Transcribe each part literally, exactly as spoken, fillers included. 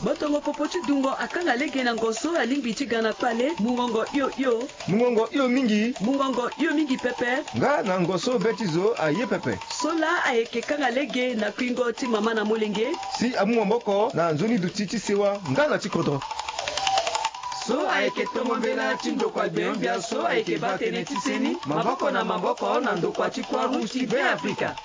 Botongo popo ti dungo akanga lege na ngo so alingbi ti ga na kpale. Mungongo hio hio. Mungongo hio mingi. Mungongo hio mingi pepe. Nga na ngo so be ti zo aye pepe. So laa ayeke kanga lege na kuingo ti mama na molenge. Si amu maboko na nzoni duti ti sewa nga na ti kodro. So ayeke tongo mbela ti ndokua gbenyogbia so ayeke baa tënë ti seni maboko na maboko na ndokua ti Croix Rouge ti Beafrika.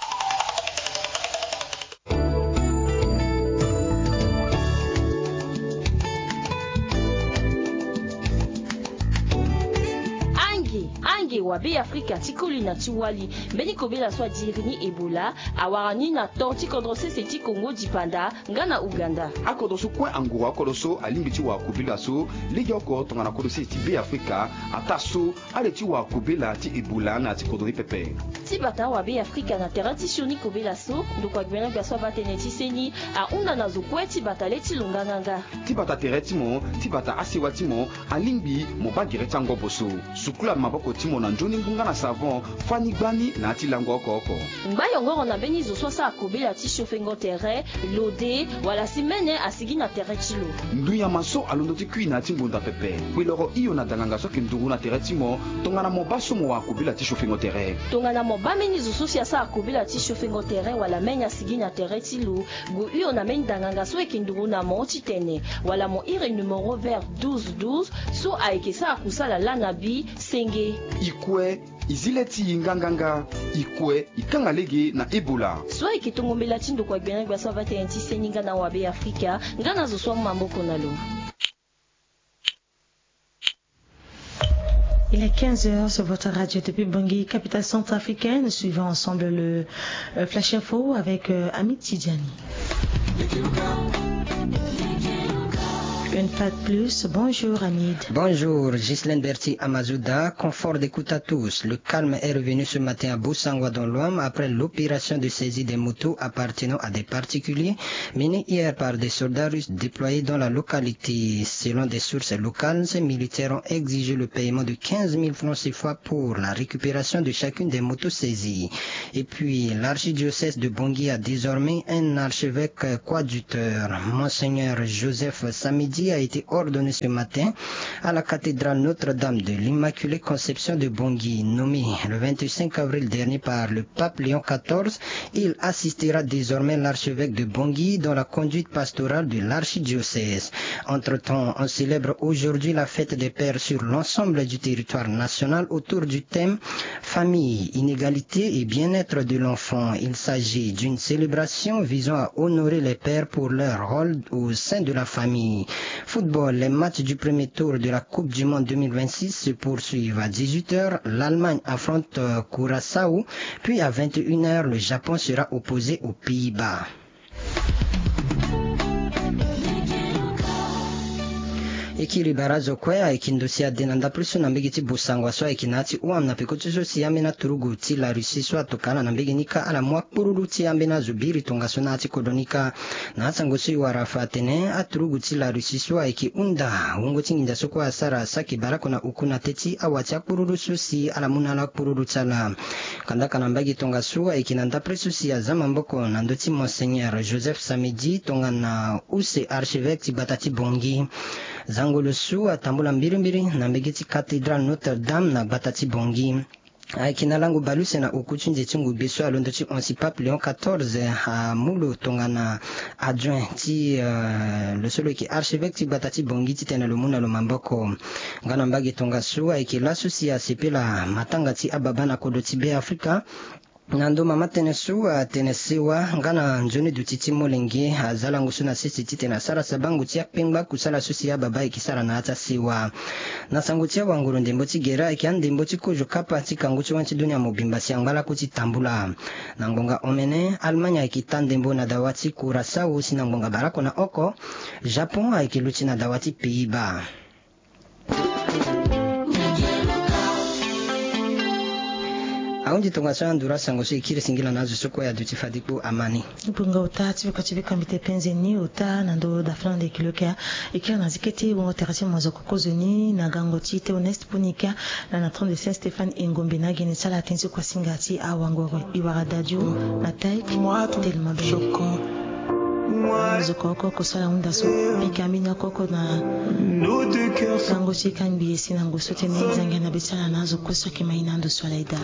Ange, ange wa Beafrika ti koli na ti wali. Mbeni kobela so adiri ni Ebola awara ni na ton ti kodro sese ti Congo dipanda nga na Ouganda. Akodro so kue anguru akodro so alingbi ti wara kobela so legeoko tongana kodro sese ti Beafrika ataa so ale ti wara kobela ti Ebola na ya ti kodro ni pepe. Ti bata awabe Afrika na tere ti sioni kobela so, ndokua gbenyogbia so abaa tënë ti seni ahunda na zo kue ti bata le ti lo nganganga. Ti bata tere ti mo, ti bata asewa ti mo, alingbi mo baa gere ti angobo so. Sukula maboko ti mo na nzoni ngu nga na savon, fani gbani na ya ti lango oko oko. Ngba yongoro na mbeni zo so asara kobela ti siofengo tere, lode, wala si mene asigi na tere ti lo. Ndu nyama so alondo ti kui na ya ti ngonda pepe. Kpeloro hio na danganga so ayeke nduru na tere ti mo, tongana mo baa so mo wara kobela ti siofengo tere. Tongana mo baa mbeni zo so si asara kobela ti siofengo tere wala mene asigi na tere ti lo, gue hio na mbeni danganga so ayeke nduru na mo titene, wala mo iri numéro vert douze douze so ayeke sara kusala laa na bi senge. I kue, i zi le ti i nganganga, i kue, i kanga lege na Ebola. So ayeke tongo mbela ti ndokua gbenyogbia so abaa tënë ti seni nga na awabe Afrika, nga na zo so amu maboko na lo. Il est quinze heures sur votre radio depuis Bangui, capitale centrafricaine. Suivons ensemble le, euh, Flash Info avec, euh, Hamid Tidjani. Une fois de plus, bonjour Hamid. Bonjour, Ghislaine Berti Amazouda. Confort d'écoute à tous. Le calme est revenu ce matin à Bossangoa dans l'Ouham après l'opération de saisie des motos appartenant à des particuliers menée hier par des soldats russes déployés dans la localité. Selon des sources locales, ces militaires ont exigé le paiement de quinze mille francs C F A pour la récupération de chacune des motos saisies. Et puis, l'archidiocèse de Bangui a désormais un archevêque coadjuteur. Monseigneur Joseph Samedi a été ordonné ce matin à la cathédrale Notre-Dame de l'Immaculée Conception de Bangui, nommé le vingt-cinq avril dernier par le pape Léon quatorze. Il assistera désormais l'archevêque de Bangui dans la conduite pastorale de l'archidiocèse. Entre-temps, on célèbre aujourd'hui la fête des pères sur l'ensemble du territoire national autour du thème famille, inégalité et bien-être de l'enfant. Il s'agit d'une célébration visant à honorer les pères pour leur rôle au sein de la famille. Football, les matchs du premier tour de la Coupe du Monde deux mille vingt-six se poursuivent. À dix-huit heures, l'Allemagne affronte, euh, Curaçao, puis à vingt et une heures, le Japon sera opposé aux Pays-Bas. E kiri barazo kue ayeke ndo si ade na ndapre so na mbege ti Bossangoa so ayeke na ya ti Ouham na peko ti so si ambeni aturugu ti la Russie so atokua ala na mbege ni kâ ala mu akpururu ti ambeni azo biri tongaso na ya ti kodro ni kâ. Na asango so e wara fa atene aturugu ti la Russie so ayeke hunda wungo ti nginza so kue asara saki baleoko na oku na teti awa ti akpururu so si ala mu na ala akpururu ti ala. Kandaka na mbage tongaso ayeke na ndapre so si aza maboko na ndö ti Monseigneur Joseph Samedi tongana use archevêque ti gbata ti Bangui. Zangolo so atambula mbirimbiri na mbege ti cathédrale Notre-Dame na gbata ti Bangui. Ayeke na lango baleuse na oku ti nze ti ngugbe so alondo ti honsi pape Léon quatorze amu lo tongana adjoint ti, euh, lo so lo yeke archevêque ti gbata ti Bangui titene lo mu na lo maboko. Nga na mbage tongaso ayeke laso si asepela matanga ti ababa na kodro ti Beafrika. Na ndo mama tënë so atene sewa nga na nzoni duti ti molenge aza lango so na sese titene asara sabango ti akpengba kusala so si ababa ayeke sara na ya ti asewa. Na sango ti awanguru ndembo ti gere ayeke andembo ti kozo kapa ti kangu ti wani ti dunia mobimba si angba lakue ti tambula. Na ngonga omene, Allemagne ayeke taa ndembo na dawa ti Curaçao si na ngonga baleoko na oko, Japon ayeke luti na dawa ti Pays-Bas. Ahunzi tongaso na nduru asango so e kiri singila na azo so kue aduti fade kpo amani. Bonga ota ti biko ti biko mbi te penze ni ota na ndo da Flandre kilo kia. E kiri na zi kete bongo tere ti mo zo kokozo ni na gango ti Théoneste Ponika na na trente de Saint Stéphane Engombe na gene ti ala tënë ti kua singa ti awangoro e wara dadio na taik. Telema bene. Azo ko oko oko so ala hunda so, pika ambeni akoko na lango ti kangbi esi na ngu so tene zangia na be ti ala na azo ko so ayeke ma ye na ando so ala eda.